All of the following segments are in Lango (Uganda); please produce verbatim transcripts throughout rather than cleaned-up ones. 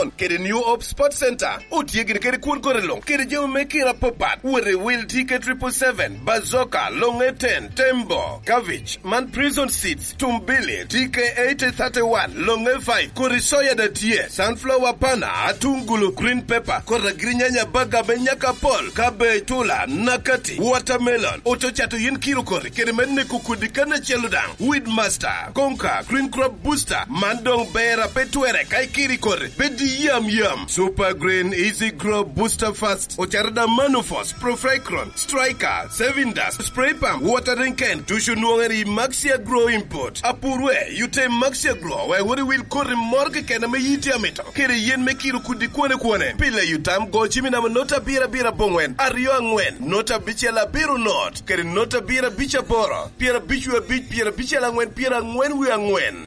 Kede New Hope Sports Center, otye gin kede kwon kore luŋ, kede jami me kira apapat, wot i wil T K triple seven, Bazooka, Longe ten, Tembo, Cabbage, man Prison Seeds, Tumbili, T K eighty thirty-one, Longe five, kodi soya da tye, sunflower pana, atungulu, green pepper, kodi agirinyanya, baga me nyaka pol, cabbage, tula, nakati, watermelon, ococato yin kiro kori, kede me neko kodi kan acel daŋ, Weedmaster, Konka, Green Crop Booster, man doŋ ber a pe twere ka ikiri kore, pe di yam yam. Super Green Easy Grow Booster Fast, ocaro da Manufos, Profecron, Striker, Saving Dust, Spray Pump, Watering Can, ducu nwoŋere i Maxia Grow Import. Apurwe, yute Maxia Grow, wek wot i wil koti moro keken ame yiti amito. Kede yen me kiro kudi kwane kwane. Pile yutam go cimi namo nota abiro abiro aboŋwen, aryo aŋwen, nota abicel abiro not, kede nota abiro abic aboro, pyera abic wie abic, pyera abicel aŋwen, pyera aŋwen wie aŋwen.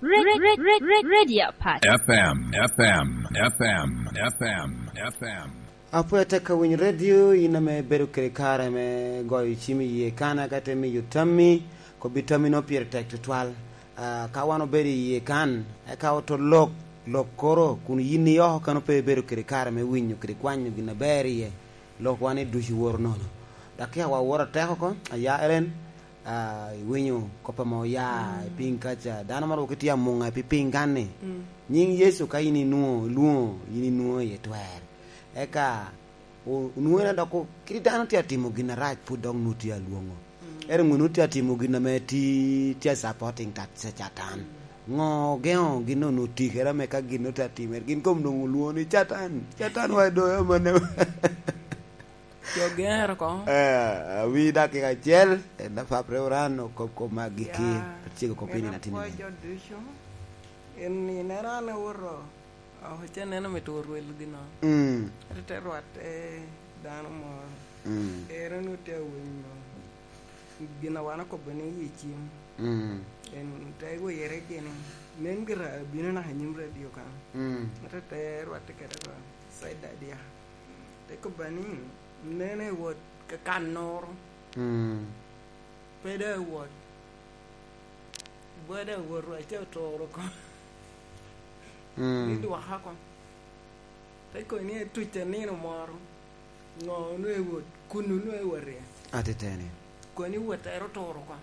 Re-, re-, re-, re-, Radio Pass. F M, F M, F M, F M, F M. Apwony atek ka winyo redio, in ame ibedo kede kare me goyo cim i yie kan, ka te miyo tammi, kobbi tammi no pire tek tutwal. Ah, ka wan obedo i yie kan, eka oto lok, lok koro, kun yin i oko kan pe ibedo kede kare me winyo kede kwanyo gin aber iye, lok wan i ducu woro nono. Dok ka wa woro atek oko, aya Ellen, ah, iwinyo kop ame oya i piny kaca. Dano moro tye amuŋa pi piny kan-ni. Nyiŋ Yecu ka in inwoŋo, ilwoŋo, in inwoŋo iye twer. Eka o-, onwoŋo en dok o-, kit dano tye atimo gin arac, pwod dok nwoŋo tye alwoŋo. Ento onwoŋo tye atimo gin ame ti-, tye supporting tat-, Catan. Ŋo ogeŋo gin onwoŋo tikere ame ka gin nwoŋo tye atimere? Gin kom onwoŋo olwoŋo ni, "Catan, Catan wa i doyo amanne." Jo gero ko. Eh, awi dakika acel, en apapre oran okop kop me agikki, ya, cego kop en yin atin apwoyo nen. Jo ducu, en, en era an awoto, ah, oce neno me tur wel gino. Mm. Ate te rwatte dano moro. Mm. Ero ni ote awinyo gin a wan okobo ni i cim. Mm. En te wire gini, nen gira abino naka i nyim radio kan. Mm. Ate te rwatte kede rwat. Saida dia. Te kobba ni, "Nene wot ka kan noro." Mm. Pe da wot. Bwada wot wa ca otoro ko. Mm. Ni dwaka ko. Te koni etuc a nino moro. Ŋo onwe wot? Kun onwe wot ya? Atiteni. Koni wot ero otoro ko.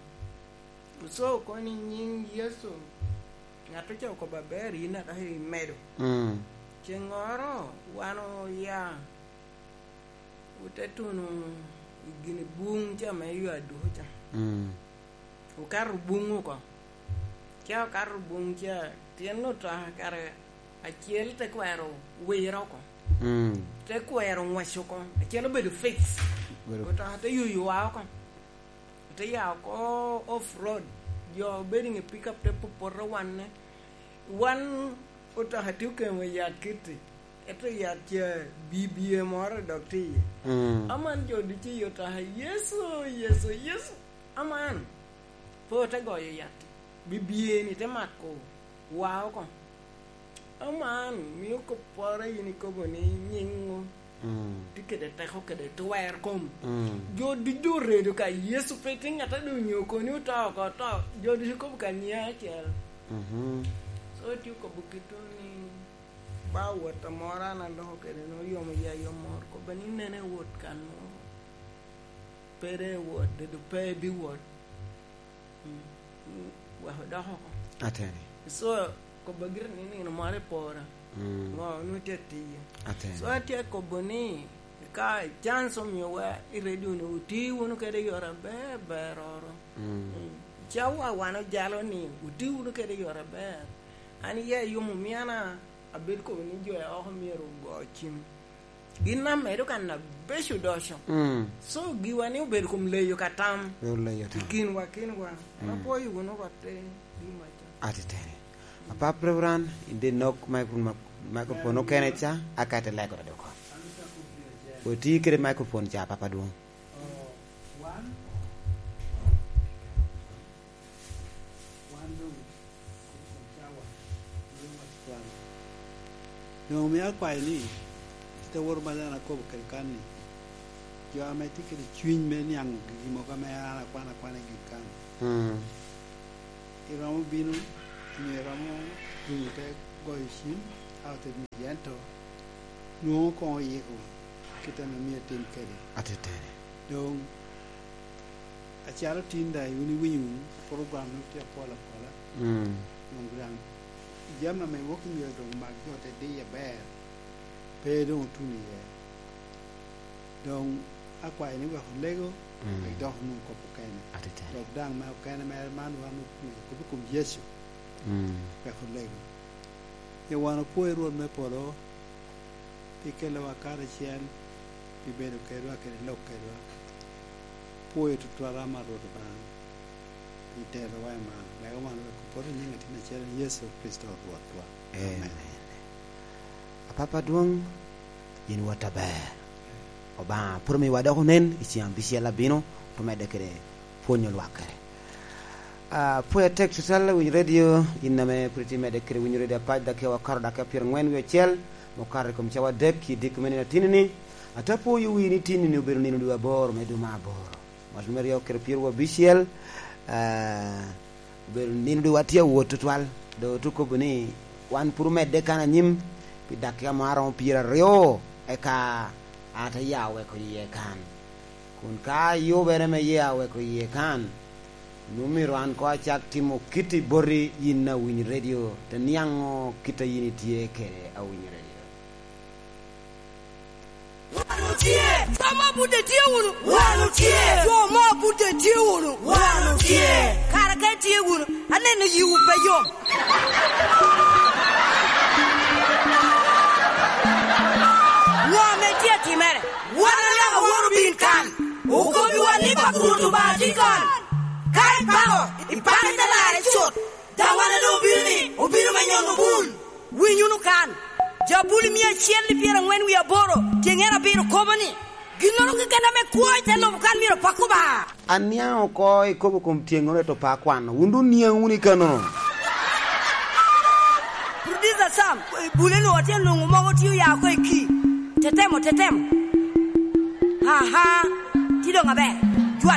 So koni nyiŋ Yecu. Ŋat oca okobo aber, yin adok imedo. Mm. Ceŋŋoro wan oya, ote tuno i gin buŋ ca me ywa duko ca. Mm. Okato buŋ oko. Ca okato buŋ ca, tyen otoka kare acel te kwero wire oko. Mm. Te kwero ŋwec oko. Acel obedo fix. Obedo otoka te yoyo wa oko. Ote ya oko off road. Jo obedo i ŋe pickup te popoto wanne. Wan otoka tye okemo i yat kitti. Ento yat ca bibie moro dok tye iye. Mm. Aman jo ducu i otoka, "Yecu, Yecu, Yecu." Aman pe ote goyo yat. Bibie-ni te mako wa oko. Aman mio kopporo yin ikobo ni nyiŋo. Mm. Tye kede teko kede twer kom. Mm. Jo ducu oredo ka Yecu pe tye ŋat a doŋ onyo koni oto oko oto. Jo ducu kobo ka nyiŋ acel. Mhm. So tye okobo kito ni ba wot amoro an aloko kede ni oyomo ya yom moro. Kobo ni nene wot kan moro. Pe de wot, dedo pe bi wot. Mm. Mm, wek odok oko. Ateni. So, kobo gire ni nino moro epora. Mm. Ŋo, onwoŋo tye atiye. Ateni. So, atye kobo ni, ka chance omiowa i radio ni, wuti wunu kede yore aber, beroro. Mm. Mm. Cawa wan ojalo ni, wuti wunu kede yore aber. An iya yom omiana, abedo kobo ni jo a oko myero ogo cim. Gin amedo kan abeco odoco. Mm. So, giwa ni obedo kom leyo ka tam. Obedo leyo tam. I kinwa, kinwa. Mm. Apwoyo wunu rwatte, gin waco. Atiteni. Apap Reverend, in de nok micro-, microphone okene ca, aka te lego dok. Oti kede microphone ca, Papa Dwong. Oh, one. Wan doŋ, kun cawa, doŋ wac kwan. Doŋ omio akwayo ni, kit a woro ma dano akobo kede kan ni, jo ame tye kede cwiny me niaŋo gigi mogo ame an akwano akwana i gin kan, mm, iromo bino, nyo iromo winyo te goyo cim, a ote Ento nwoŋo koŋ oyiko kit ame myero etim kede. Ateteni. Doŋ, acalo tin daŋ wun iwinyo wunu program no tye apol apola. Mm. Doŋ daŋ jami ame wok myero doŋ mak jo te diye aber, pe doŋ otuno iye. Doŋ akwayo ni wek olego, mm, wek dok onwoŋ kop okene. Ateteni. Dok daŋ me okene mere man wan omito kop i kom Yecu. Mm. Wek olego. Pien wan opwoyo Rwot me polo, pi kelowa karacel, pi bedo kedwa kede lok kedwa. Pwoyo tutwal ama Rwot Obaŋa, pi terowa i malo, wek wan wek opot i nyiŋ Atin acel, Yecu Kricito Rwotwa. Amen. Amen. Apapa adwoŋ, yin wot aber. Obaŋa pwod omiwa dok onen i ceŋ abicel abino, ote medde kede pwonyo lwak kede. Ah, pwod atek tutwal, winyo redio, in ame pwod itye medde kede winyo redio apac, dakika wakato dakika pyerangwen wie acel, mukato i kom cawa adek, i diko me nino atinni-ni. Ate pwoyo wii ni tinni-ni obedo nino dwe aboro me dwe me aboro. Mwaka me aryo kede pyeraryo abicel, ah, obedo nino dwe watye awot tutwal. Doŋ ote kobo ni wan pwod omedde kan anyim pi dakika mo aromo pyeraryo, eka ate ya oweko yie kan. Kun ka ayubere me ya oweko yie kan, nwoŋo myero an koŋ acak timo kit i boti yin awiny redio, te niaŋo kit a yin itye kede awiny redio. Wan otye. Jo mo Buda tye wunu. Wan otye. Jo mo Buda tye wunu. Wan otye. Kara ka itye wunu, aneno yiwu pe yom. Ŋo ame tye atimere? Wan anaka woro bin kan. Okobiwa ni Papa Rwot Obaŋa tye kan. Ka ipako, ipako ite larre cut. Daŋ wan ame obino ni, obino me nyono bul. Winy wunu kan. Jabuli mia acel i pyerangwen wie aboro, tyeŋere abiro kobo ni, ginnoro keken ame kwo i te lobo kan myero pak Obaŋa. Aniaŋ oko ikobo kom tyeŋŋoro ento pe akwano. Wun doŋ niaŋ wunu i kano. Producer Sam, bule-nu atye nwoŋo mogo tye oya oko i ki. Tetemo, tetemo. Aha, tye doŋ aber.